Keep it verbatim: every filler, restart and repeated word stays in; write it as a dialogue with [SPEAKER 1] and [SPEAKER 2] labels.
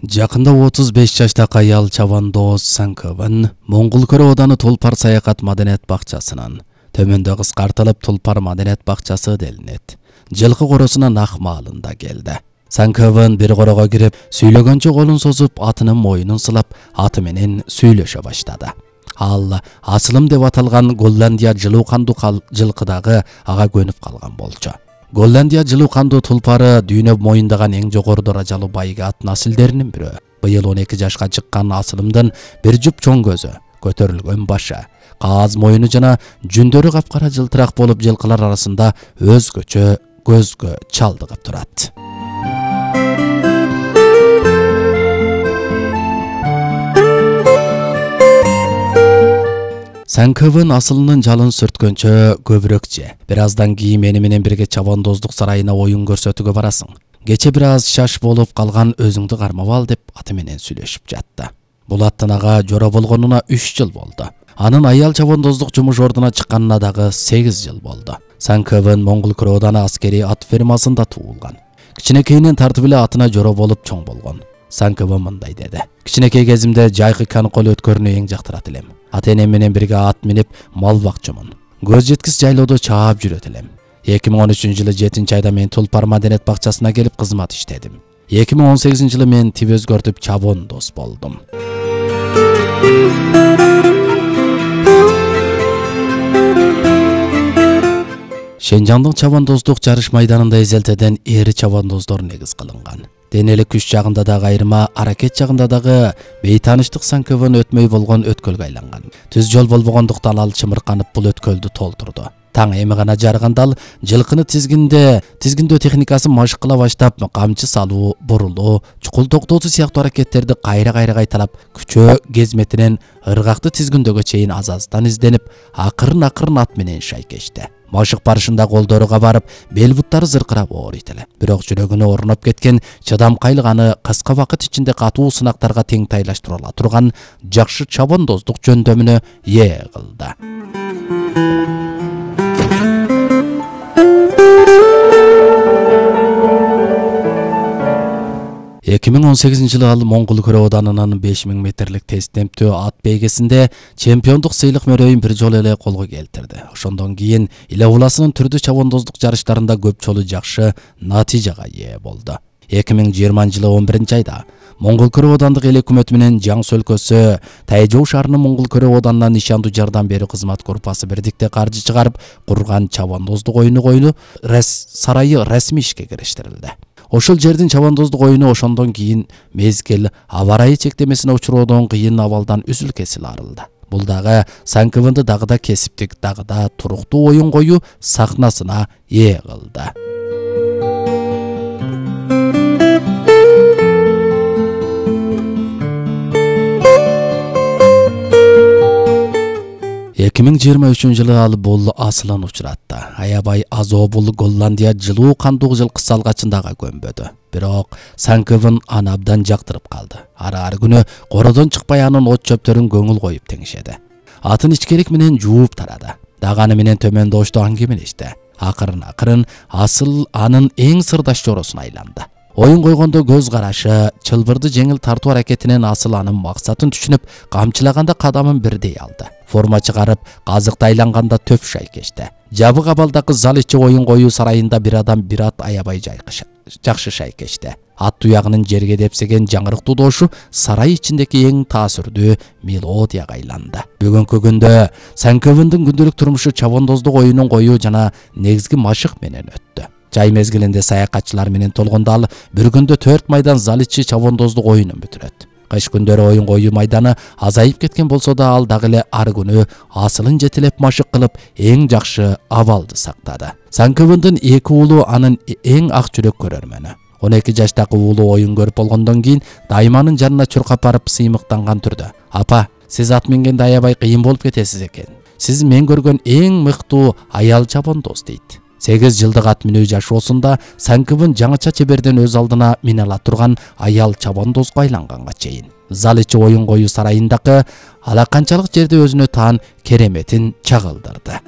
[SPEAKER 1] Жакында отуз беш жаштагы аял Чавандоз Санкыбын Моңгол Көрө Ооданы Тулпар саякат маданият бакчасынан төмөндө кыскартылып Тулпар маданият бакчасы делинет. Жылкы коросунан ак маалында келди. Санкыбын бир корого кирип, сүйлөгөнчө колун созуп, атынын моюнун сылап, аты менен сүйлөшө баштады. Ал асылым деп аталган Голландия жылуу кандуу жылкыдагы ага көнүп калган болчу. Голландия жылуу кандуу тулпары дүйнө моюндаган эң жогору даражалуу байга ат насилдеринин бирөө. Быйыл он эки жашка чыккан асылымдын бир жуп чоң көзү, көтөрүлгөн башы, кааз моюну жана жүндөрү капкара жылтырак болуп жылкылар арасында өзгөчө көзгө чалдыгып турат. Санкыбын асылынын жалын сүрткөнчө көбүрөөк же. Бир аздан кийин мени менен бирге Чавандоздук сарайына оюн көрсөтүүгө барасың. Кече бир аз шаш болуп калган, өзүңдү кармап ал деп аты менен сүйлөшүп жатты. Бул аттын ага жора болгонуна үч жыл болду. Анын аял Чавандоздук жумуш ордуна чыкканына дагы сегиз жыл болду. Санкыбын Моңгол Көрө Ооданы аскери ат фермасында туулган. Кичинекейинен тартып эле атына жора болуп чоң болгон. Санкыбын мындай деди: кичинекей кезимде жайкы каныкол өткөрүүнү эң жактырат элем. Ата-энем менен бирге ат минип мал бакчумун. Көз жеткис жайлоодо чаап жүрөт элем. эки миң он үчүнчү жылы жетинчи айда мен Тулпар маданият бакчасына келип кызмат иштедим. эки миң он сегизинчи жылы мен тип өзгөртүп Чавандоз болдум. Шенжандын Чавандоздук жарыш майданында эзелтеден эри чавандоздор негиз кылынган. Денелик күч жагында дагы айырма, аракет жагында дагы бейтаныштык Санкыбын өтмөй болгон өткөлгө айланган. Түз жол болбогондуктан ал чымырканып бул өткөлдү толтурду. Таң эми гана жарганда ал жылкыны тизгинде, тизгиндөө техникасын машык кыла баштап, камчы салуу, бурулуу, чукул токтоосу сыяктуу аракеттерди кайра-кайра кайталап, күчөө кезметинен ыргакты тизгиндөгө чейин аз-аздан изденип, акырын-акырын ат менен шайкешти. Машык барышында колдоруга барып, бел буттары зыркырап ооруйт эле. Бирок жүрөгүнө орноп кеткен чыдамкайлык аны кыска убакыт ичинде катуу сынактарга тең тайлаштыра ала турган жакшы чавандоздук жөндөмүнө ээ кылды. эки миң он сегизинчи жылы ал Моңгол Көрө Оодунун беш миң метрлик тез темптүү ат бейгесинде чемпиондук сыйлык мөрөйүн бир жолу эле колго келтирди. Ошондон кийин Иле Уласынын түрдүү чавандоздук жарыштарында көп жолу жакшы натыйжага ээ болду. эки миң жыйырманчы жылы он биринчи айда Моңгол Көрө Оодандык эл өкмөтү менен Жаңсы өлкөсү Тайжоо шаарынын Моңгол Көрө Оодунуна нишандуу жардам берүү кызмат группасы бирдикте каржы чыгарып курган чавандоздук оюну коюну сарайы расмий ишке кириштирилди. Ошол жердин чавандоздук оюну ошондон кийин мезгил аба ырайы чектемесине учуроодон кыйын абалдан үзүл кесил арылды. Бул дагы Санкыбынды дагы да кесиптик, дагы да туруктуу оюн коюу сахнасына ээ кылды. эки миң жыйырма үчүнчү жылы ал бул асылын учуратты. Аябай азоо бул Голландия жылуу кандуу жылкы салгачындагы көмбөдү. Бирок Санкыбын аны абдан жактырып калды. Ар-ар күнү кородон чыкпай анын от чөптөрүн көңүл коюп теңишеди. Атын ичкерик менен жууп тарады. Даганы менен төмөндө ошто аңгемелешти. Акырын-акырын асыл анын эң сырдаш жоросуна айланды. Оюн койгондо көз карашы, чылбырды жеңил тартуу аракетинен асыл анын максатын түшүнүп, камчылаганда кадамын бирдей алды. Форма чыгарып, казыкты айланганда төп шайкешти. Жабык абалдагы зал ичи оюн коюу сарайында бир адам бир ат аябай жайкыш, жакшы шайкешти. Ат туягынын жерге депсеген жаңырыктуу дошу сарай ичиндеги эң таасирдүү мелодияга айланды. Бүгүнкү күндө Санкыбындын күндүлүк турмушу чавандоздук оюнун коюу жана негизги машык менен өттү. Жай мезгилинде саякатчылар менен толгондо ал бир күндө төрт майдан зал ичи чавандоздук оюнун бүтүрөт. Кыш күндөрү оюн коюу майданы азайып кеткен болсо да ал дагы эле ар күнү асылын жетелеп машык кылып эң жакшы абалды сактады. Санкыбындын эки уулу анын эң ак жүрөк көрөрмөнү. он эки жаштагы уулу оюн көрүп болгондон кийин дайманын жанына чуркап барып сыймыктанган түрдө: "Апа, сиз ат мингенде аябай кыйын болуп кетесиз экен. Сиз мен көргөн эң мыктуу аял чавандоз" дейт. сегиз жылдык ат минүү жашоосунда Санкыбын жаңыча чеберден өз алдына мине ала турган аял чавандозго айланганга чейин зал ичи оюн коюу сарайындагы ала канчалык жерде өзүнө таан кереметин чагылдырды.